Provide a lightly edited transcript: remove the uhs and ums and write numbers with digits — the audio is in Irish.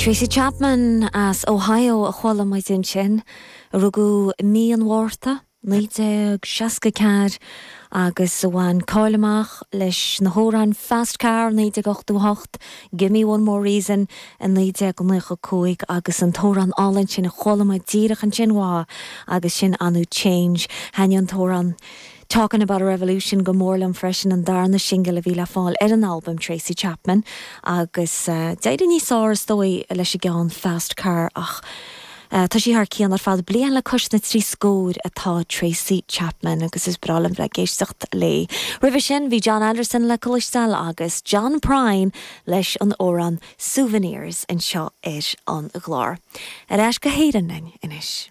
Tracy Chapman as Ohio a chuala muid ansin, a rugadh i mí an Mhárta, 1964 agus a bhain cáil amach leis na hamhráin Fast Car, 1988, Gimme One More Reason, 1995 agus an t-amhrán álainn sin a chuala muid díreach ansin uaithi agus sin ar ndóigh Change. Thaitnigh an t-amhrán Talkin' About a Revolution go mór liom freisin, an darna singil a bhí le fáil ar an albam Tracy Chapman agus d'éirigh níos fearr is dóigh leis an gceann Fast Car ach tá sí thar cionn ar fad. Bliain le cois na dtrí scór atá Tracy Chapman agus is breá liom bheith ag éisteacht léi. Roimhe sin bhí Jon Anderson le cloisteáil agus John Prine leis an amhrán Souvenirs anseo ar an gclár. Ar ais go hÉirinn linn anois.